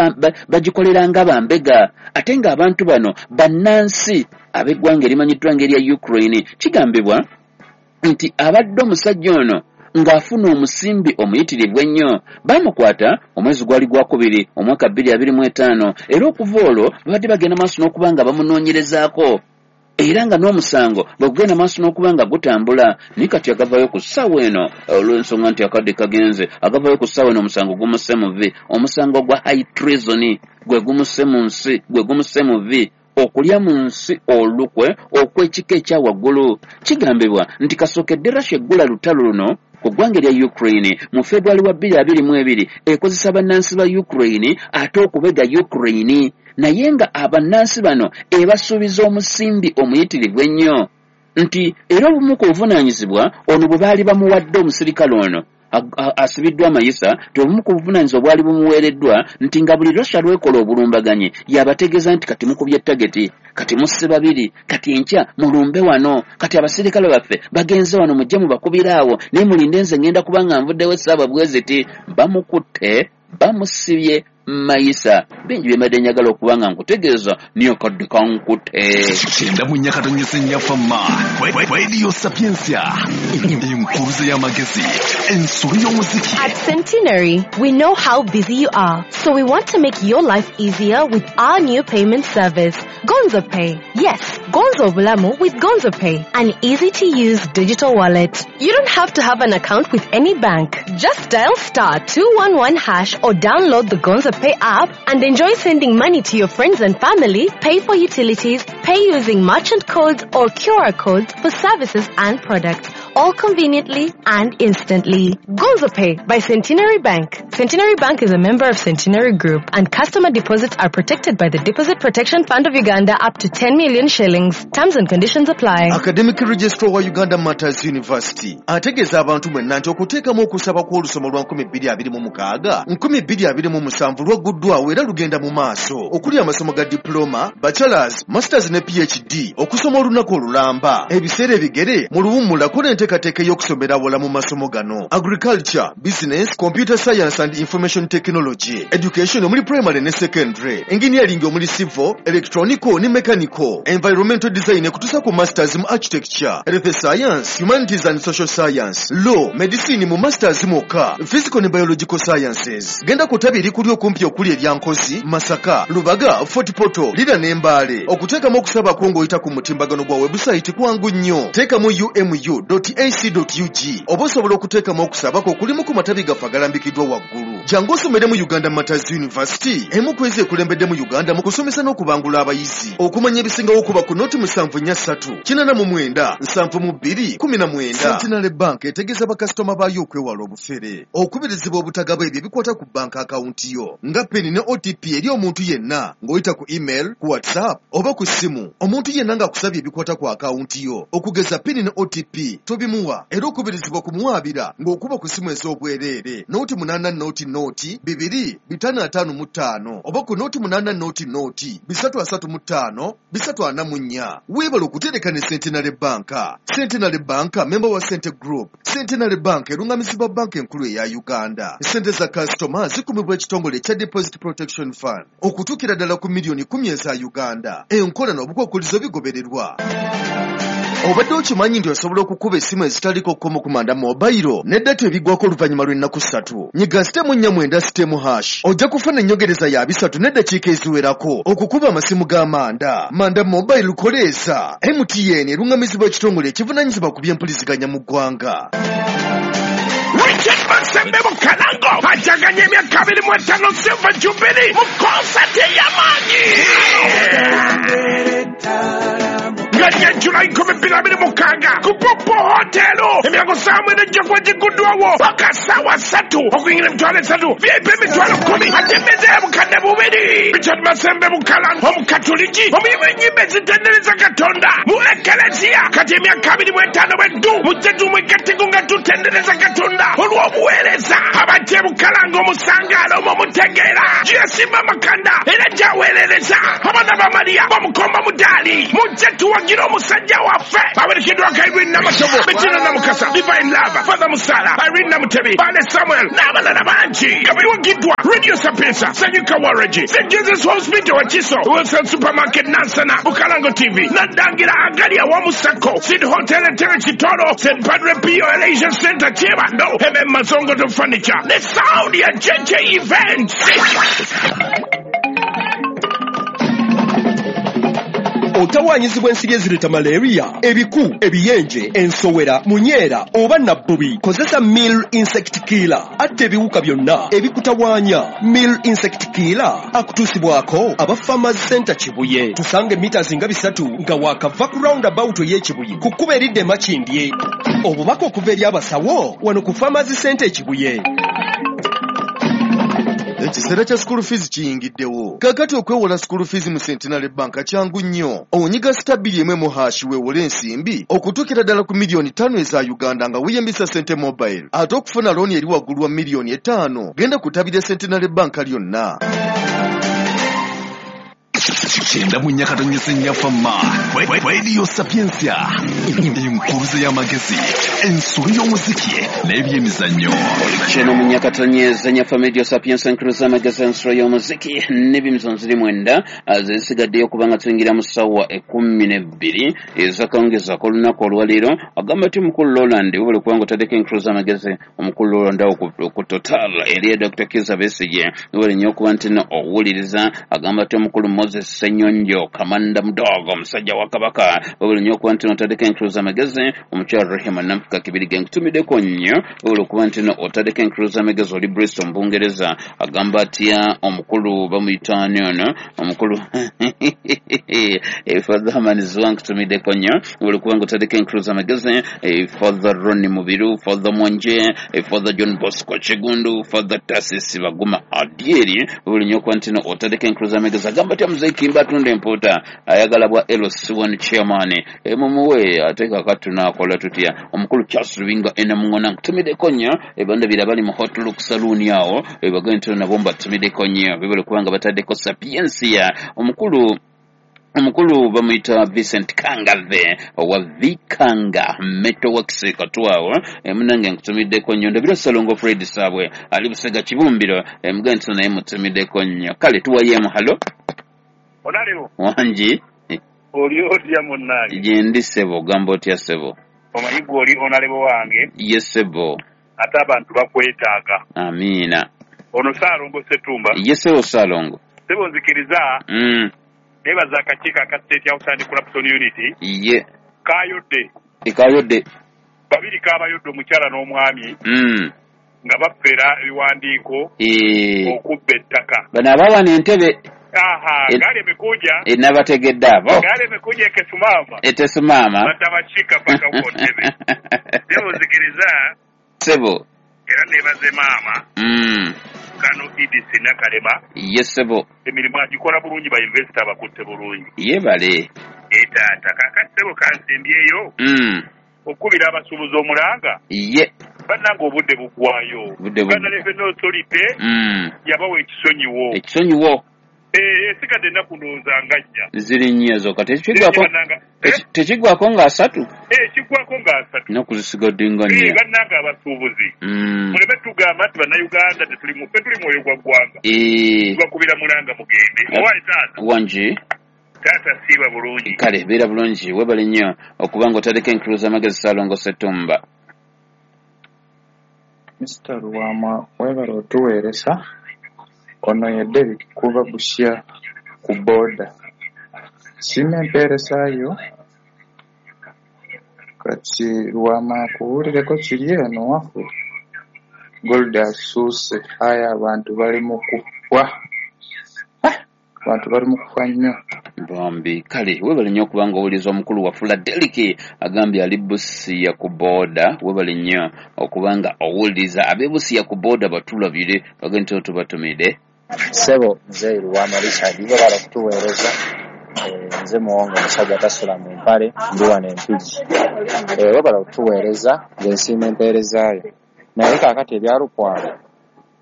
Speaker 1: bagikolera nga bambega, ate ng'abantu bano bannansi ab'eggwanga erimanyiddwa ng'erya Ukraine. Kigambibwa nti abadde omusajja ono ng'afuna omusimbi omuyitirivu ennyo. Baamukwata omwezi gwali gwakubiri omwaka bbiri abiri mu etaano, era okuva olwo babadde bagenda maaso n'okuba nga bamunoonyerezaako, era nga n'omusango bwe gugenda maaso n'okuba nga gutambula. Naye kati agavayo ku ssaawa eno, olw'ensonga nti akadde kagenze, agavayo ku ssaawa eno omusango gumusse mu vvi, omusango gwa high treason gwe gumusse mu nsi, gwe gumusse mu vvi, okulya mu nsi olukwe okw'ekika ekya waggulu. Kigambibwa nti kasookedde Russia eggula lutalo luno ku ggwanga erya Ukraine mu February wa bbiri abiri mu ebiri, ekozesa bannansi ba Ukraine ate okubega Ukraine, naye nga abannansi bano ebasuubiza omusimbi omuyitirivu ennyo, nti era obumu ku buvunaanyizibwa ono bwe baali bamuwadde omusirikale ono asibiddwa amayisa, nti obumu ku buvunaanyizibwa bwali bumuweereddwa nti nga buli Russia lwekola obulumbaganyi yabategeeza nti kati mukubye tageti, kati musse babiri, kati enkya mulumbe wano, kati abasirikale baffe bagenze wano mujje mubakubira awo, naye mulinde nze ngenda kuba nga nvuddewo essaawa bwe ziti. Bamukutte, bamusibye mayisa. Bingi bye mbadde njagala okuba nga nkutegeeza, niyo kadde kankutte.
Speaker 2: Kyenda mu nnya katonyese nnya fama Radio Sapientia, enkuruze y'amagezi, ensolo y'omuziki.
Speaker 6: At Centenary, we know how busy you are, so we want to make your life easier with our new payment service, Gonzo Pay. Yes, Gonzo Bulamu with Gonzo Pay, an easy-to-use digital wallet. You don't have to have an account with any bank. Just dial star two one one hash or download the Gonzo Pay app and enjoy sending money to your friends and family, pay for utilities, pay using merchant codes or Q R codes for services and products, all conveniently and instantly. Gonzo Pay by Centenary Bank. Centenary Bank is a member of Centenary Group, and customer deposits are protected by the Deposit Protection Fund of Uganda up to ten million shillings. Terms and conditions apply.
Speaker 9: Academic Registrar wa Uganda Matters University ategeeza abantu mwenna nti okuteekamu okusaba kw'olusoma lwa nkumi bbiri abiri mu mukaaga nkumi bbiri abiri mu musanvu lwagguddwawo era lugenda mu maaso, okuli amasomo ga diploma, bachelors, masters ne PhD, okusoma olunaku olulamba, ebiseera ebigere mu luwummula kola enteekateeka ey'okusomera awala mu masomo gano: agriculture, business, computer science and information technology, education omuli primary ne secondary, engineering omuli civil, electronical ne mechanical, environmental design ekutuusa ku masters mu architecture, health science, humanities and social science, law, medicine mu masters mwokka, physical ne biological sciences. Genda ku ttabi erikuli okumpi okuli erya Nkozi, Masaka, Lubaga, Fort Portal, Lira ne Mbale. Okuteekamu okusaba kwo ng'oyita ku mutimbagano gwa webusayiti kwangu nnyo. Teekamu u m u dot a c dot u g oba osobola okuteekamu okusaba kwo okulimu ku matabi gaffe agalambikiddwa waggulu. Jangu osomere mu Uganda Matters University, emu ku ezo ekulembedde mu Uganda mu kusomesa n'okubangula abayizi. Okumanya ebisingawo okuba ku noti musanvu nnya ssatu kinaana mu mwenda nsanvu mu bbiri kumi na mwenda. Centenary Bank etegeeza bakasitoma baayo okwewala obufere, okubirizibwa obutagaba ebyo ebikwata ku banka akawunti yo nga PIN ne O T P eri omuntu yenna ng'oyita ku email, ku WhatsApp oba ku ssimu. Omuntu yenna ng'akusabye ebikwata ku akawunti yo okugeza PIN ne O T P tobimuwa, era okubirizibwa kumuwaabira ng'okuba ku ssimu ez'obwereere nooti munaana nooti nooti bibiri bitaano ataano mu ttaano oba ku nooti munaana nooti nooti bisatu asatu mu ttaano bisatu ana mu nnya. Weebale okutereka ne Centenary Bank. Centenary Bank member wa Cente Group. Centenary Bank erungamizibwa banka enkulu eya Uganda. Ssente za kasitoma zikumibwa ekitongole ekya Deposit Protection Fund okutuukira ddala ku miliyoni kumi eza Uganda. Enkola n'obukwakkulizo bigobererwa. Obadde okimanyi nti osobola okukuba essimu ezitaliko kkomo ku Manda Mobile ne data ebiggwako oluvannyuma lw'ennaku ssatu. Nyiga sitemu nnya mwenda sitemu hash ojja kufuna ennyongereza ya bisatu n'eddakiika eziwerako okukuba amasimu ga Manda. Manda Mobile koleesa. M T N erungamizibwa ekitongole ekivunaanyizibwa ku by'empuliziganya mu ggwanga.
Speaker 8: Richard Masembe Bukalango ajaganya emyaka abiri mu etaano Silver Jubilee mu konsati ey'amaanyi nga July nkumi bbiri abiri mukaaga ku Popo Hotel emyango ssaawa mwenda ejja kuba gigguddwawo paka ssaawa ssatu okuyingira emitwalo esatu V I P emitwalo kkumi ate emmeeza ya bukadde bubiri. Richard Masembe Bukalango omukatuliki omuyimbi w'ennyimba ezitendereza Katonda mu Ekelezia kati emyaka abiri mu etaano bweddu mujje tumwegatteko nga tutendereza Katonda olw'obuweereza abajja e Bukalango omusangaala omwo mutegeera gyeyasimba amakanda era gyaweerereza abaana ba Mariya bamukomba mudaali mujje tuwagira omusajja waffe awerekeddwako Irene Namatovu, Bettina Namukasa, Divine Love, Father Musala, Irene Namutebi, Bale Samuel n'abalala bangi nga biwagiddwa Radio Sapientia, Sanyuka Waragi, Saint Jesus Hospital Wakiso, Wilson Supermarket Nansana, Bukalango T V, Nadangira Agali awamu Sacco, Sid Hotel Entebbe Kitoro, Saint Padre Pio Elijah Center Kyebando, M M Mazongoto Furniture, ne sound ya J J Events.
Speaker 16: Otawaanyizibwa ensiri ezireeta malaria, ebiku, ebiyenje, ensowera, munyeera oba nabbubi. Kozesa Mill Insect Killer atta ebiwuka byonna ebikutawaanya. Mill Insect Killer akutuusibwako aba Farmers Center Kibuye. Tusange mita nga bisatu nga waakava ku roundabout ey'Ekibuye ku kkubo eridda e Makindye. Obubaka okuva eri abasawo wano ku Farmers Center Kibuye.
Speaker 9: Ekiseera kya school fees kiyingiddewo. Kaakati okwewola school fees mu Centenary Bank kyangu nnyo. Onyiga star bbiri emu mu hash weewole ensimbi okutuukira ddala ku miliyoni ttaano eza Uganda nga weeyambisa Sente Mobile. Ate okufuna looni eri waggulu wa miliyoni etaano genda kutabira Centenary Bank lyonna.
Speaker 2: Kyenda mu nnya katonyese nnyaffe mma. Radio Sapientia enkuruze y'amagezi, ensolo y'omuziki n'ebyemizannyo.
Speaker 1: Kyenda mu nnya katonyeze nnyaffe Radio Sapientia enkuruze y'amagezi, ensolo y'omuziki n'ebyemizannyo ziri mwenda zisigaddeyo kubanga tuyingira mu ssaawa ekkumi n'ebbiri ez'akawungeezi ak'olunaku olwaleero. Agamba nti omukulu Roland webale kubanga otaddeko enkuruze y'amagezi. Omukulu Roland awo ku Total eri Doctor Kizza Besigye webale nnyo okuba nti nno owuliriza. Agamba nti omukulu Moses Ssenyonjo Kamanda Mudogo omusajja wa Kabaka webale nnyo okuba nti otaddeko enkuruze y'amagezi. Omukyala Rehema Namfuka Kibirige nkutumiddeko nnyo webale okuba nti otaddeko enkuruze y'amagezi oli Bristol mu Bungereza. Agamba atya omukulu bamuyita ani ono omukulu Father Herman Zwa nkutumiddeko nnyo webale okuba nga otaddeko enkuruze y'amagezi. Father Ronnie Mubiru, Father Mwanje, Father John Bosco Kigundu, Father Tasisi Baguma Adieri webale nnyo okuba nti otaddeko enkuruze y'amagezi. Agamba atya Muzeeyi Kimba atunda empuuta ayagala bwa L C one chairman emumuwe ate kaakati tunaakola tutya. Omukulu Charles Lubinga Enamungona nkutumiddeko nnyo ebandabira bali mu Hot Look Saloon awo ebagende nti nabo mbatumiddeko nnyo bebale kubanga bataddeko Sapientia. Omukulu omukulu bamuyita Vincent Kangave owa Vikanga Metalworks Katwawo munange nkutumiddeko nnyo. Ndabira Ssalongo Fred Saabwe ali Busega Kibumbiro emugende nti naye mutumiddeko nnyo. Kale tuwayeemu halo
Speaker 17: Onaliwo.
Speaker 1: Wangi.
Speaker 17: Oli otya munnange?
Speaker 1: Gyendi ssebo, ogamba otya ssebo?
Speaker 17: Omanyi gwe oli onalebo wange.
Speaker 1: Ye ssebo.
Speaker 17: Ate abantu bakwetaaga.
Speaker 1: Amiina.
Speaker 17: Ono Ssaalongo Ssetumba.
Speaker 1: Ye ssebo Ssaalongo.
Speaker 17: Ssebo nzikiriza.
Speaker 1: Mm.
Speaker 17: Neebaza akakiiko aka State House Anti-Corruption Unit.
Speaker 1: Ye.
Speaker 17: Kaayodde.
Speaker 1: Ekayodde.
Speaker 17: Babiri kaabayodde omukyala n'omwami.
Speaker 1: Mm.
Speaker 17: Nga bafera ebiwandiiko.
Speaker 1: Eh.
Speaker 17: Okubba ettaka.
Speaker 1: Bano abawana entebe.
Speaker 17: Aha, gari imekuja.
Speaker 1: Inabategedde abo.
Speaker 17: Gari imekuja ekesimama.
Speaker 1: Etesimama.
Speaker 17: Batabashika paka huko Ntebe. Sebo nzikiriza.
Speaker 1: Sebo.
Speaker 17: Era nebaze maama.
Speaker 1: Mm.
Speaker 17: Kano Edith Nakalema.
Speaker 1: Yes sebo.
Speaker 17: Emirimu agikola bulungi ba investor abakutte bulungi.
Speaker 1: Yebale.
Speaker 17: E taata kaakati sebo kansimbyeyo.
Speaker 1: Mm.
Speaker 17: Okubira abasuubuzi omulanga.
Speaker 1: Ye.
Speaker 17: Bannange obudde buggwayo. Uganda Revenue Authority.
Speaker 1: Mm.
Speaker 17: Yabawa ekisonyiwo.
Speaker 1: Ekisonyiwo.
Speaker 17: Eh, esigadde ennaku ndowooza nga nnya.
Speaker 1: Ziri nnya zokka. Tekiggwako tekiggwako nga asatu?
Speaker 17: Eh, kiggwako nga asatu.
Speaker 1: Ennaku zisigadde nga nnya.
Speaker 17: Eh, bannange abasuubuzi.
Speaker 1: Mm.
Speaker 17: Muleme tugamba nti Bannayuganda tetuli mu ffe tuli mwoyo gwa ggwanga.
Speaker 1: Eh.
Speaker 17: Tubakubira mulanga mugende. Owaye taata.
Speaker 1: Wangi.
Speaker 17: Taata siiba bulungi.
Speaker 1: Kale beera bulungi webale nnyo okuba nga otaddeko enkuruze y'amagezi Ssaalongo Ssetumba.
Speaker 18: Mister Lwama webale otuweeresa. Ono ye Derrick kuva Busia ku boda. Siima empeeresayo kati Lwama akuwulireko kiri eno waffe. Gold asuuse aye abantu bali mu kufa. Abantu bali mu kufa nnyo.
Speaker 1: Bambi kale webale nnyo okubanga owuliriza omukulu wafula Deriki agambye ali Busia ku booda. Webale nnyo okubanga owuliriza ab'e Busia ku booda batulabire bagende tubatumide.
Speaker 19: Ssebo nze Lwama Richard webale okutuweereza. Nze Muwonge omusajja tasula mu mpale ndi wano Empigi. Webale okutuweereza nze nsiima empeerezaayo. Naye kaakati ebya Lukwago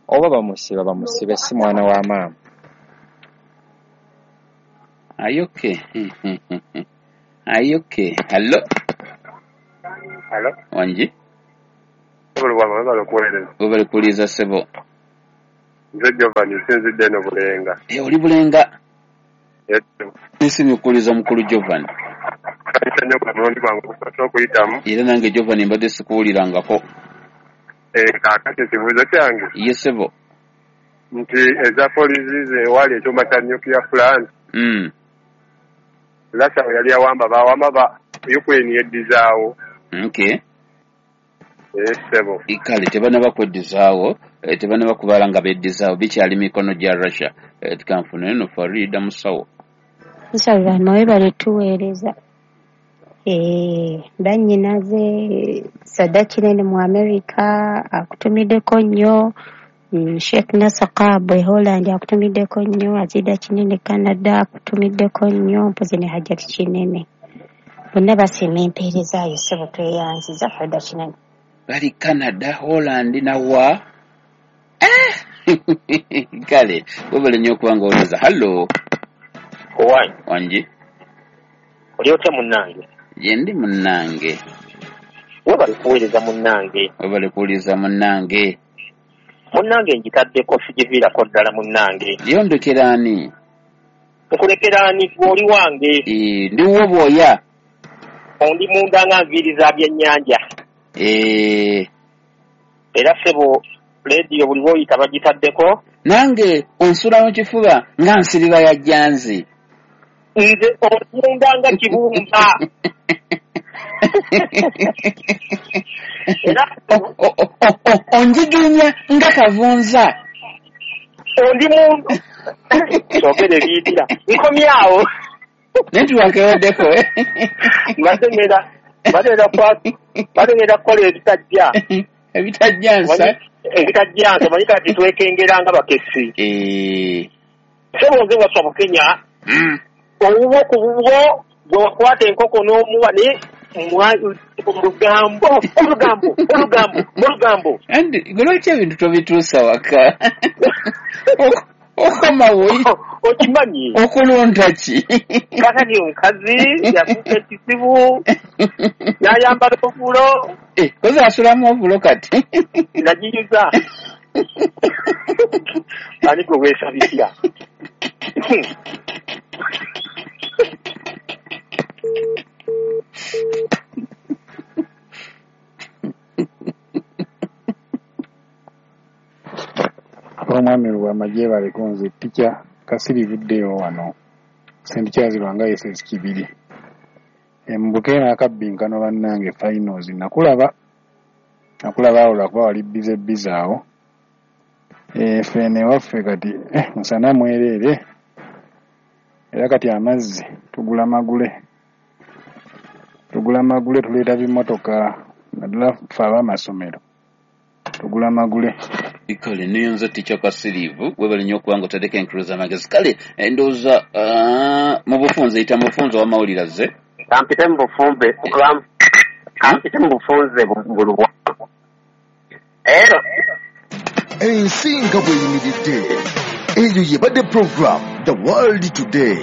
Speaker 19: oba bamusiba bamusibe si mwana wa maama.
Speaker 1: Ayoke. Ayoke. Hello.
Speaker 17: Hello.
Speaker 1: Wanji.
Speaker 17: Webale kuweereza.
Speaker 1: Webale kuwuliriza ssebo.
Speaker 17: Nze Giovanni nsinzidde eno Bulenga.
Speaker 1: Eh, oli Bulenga?
Speaker 17: Yes.
Speaker 1: Nsiimye okuwuliriza mukulu Giovanni.
Speaker 17: Kayita nnyo gwe mulundi gwange ogusoose okuyitamu.
Speaker 1: Era nange Giovanni mbadde sikuwulirangako.
Speaker 17: Eh, kaakati ekibuuzo kyange.
Speaker 1: Ye ssebo.
Speaker 17: Nti eza polisi ze waali ekyuma kya nuclear plant.
Speaker 1: Mm.
Speaker 17: Russia bwe yali awamba bawamba ba Ukraine yeddizaawo.
Speaker 1: Okay.
Speaker 17: Eh, ssebo.
Speaker 1: Kale tebannaba kweddizaawo, tebannaba kubala nga beddizaawo, bikyali mikono gya Russia. Tukanfune eno Farida Musawo.
Speaker 20: Nsaba webale tuweereza. Eh, bannyinaze Sada Kinene mu America akutumiddeko nnyo. Sheikh Nasaka e Holland akutumiddeko nnyo, Azida Kinene Canada akutumiddeko nnyo, mpozi ne Hajjati Kinene. Bonna basiima empeerezaayo ssebo tweyanziza Farida Kinene.
Speaker 1: Bali Canada, Holland nawa. Eh! Kale, webale nnyo okubanga owuliriza. Hello.
Speaker 21: Owanyi.
Speaker 1: Wangi.
Speaker 21: Oli otya munnange?
Speaker 1: Gye ndi munnange.
Speaker 21: Webale kuweereza munnange.
Speaker 1: Webale kuwuliriza munnange.
Speaker 21: Munnange ngitaddeko sigiviirako ddala munnange.
Speaker 1: Yondekera ani?
Speaker 21: Nkulekera ani gwe oli wange?
Speaker 1: Eh, ndi wuwo bw'oya.
Speaker 21: Ondi munda nga nviiri za byennyanja.
Speaker 1: Eh.
Speaker 21: Era ssebo leediyo buli lw'oyita bagitaddeko.
Speaker 1: Nange onsula mu kifuba nga nsiriba ya jjanzi.
Speaker 21: Nze omunda nga kibumba. Era
Speaker 1: onjiginya nga kavunza.
Speaker 21: Ondi mundu. Kyogere biyitira. Nkomyawo.
Speaker 1: Network eweddeko.
Speaker 21: Mbadde ngenda mbadde ngenda mbadde ngenda kukola ebitajja.
Speaker 1: Ebitajja nsa.
Speaker 21: Ebitajja nsa omanyi kati twekengera nga bakessi.
Speaker 1: Eh.
Speaker 21: Ssebo nze Waswa Bukenya. Owuwo ku bubwo gwe wakwata enkoko n'omuwa naye olugambo olugambo olugambo olugambo.
Speaker 1: Andi gwe lwaki ebintu tobituusa waka? Okomawo
Speaker 21: okimanyi
Speaker 1: okulonda ki?
Speaker 21: Kakati omukazi yafuuka ekizibu n'ayambala obulo.
Speaker 1: Eh, kozi asulamu obulo kati.
Speaker 21: Nagiyuza. Ani gwe weesabikira?
Speaker 22: Omwami Lwama gyebaleko nze Ticca Kasirivuddeyo wano Saint Charles Lwanga S S Kibiri. Mbuke n'akabbinkano bannange finals nakulaba nakulaba awo lwakuba wali bize bize awo. Ffe ewaffe kati musana mwereere era kati amazzi tugula magule tugula magule tuleeta bimmotoka naddala ffe ab'amasomero tugula magule.
Speaker 1: Kale niyonza Ticca Kasirivu webale nnyo okubanga otaddeko enkuluza amagezi. Kale ndowooza mu bufunze yita mu bufunze ow'amawulire azze.
Speaker 21: Kampite mu bufumbe kampite mu bufunze bulubwa. Ero
Speaker 9: ensi nga bw'eyimiridde eyo yebadde program The World Today.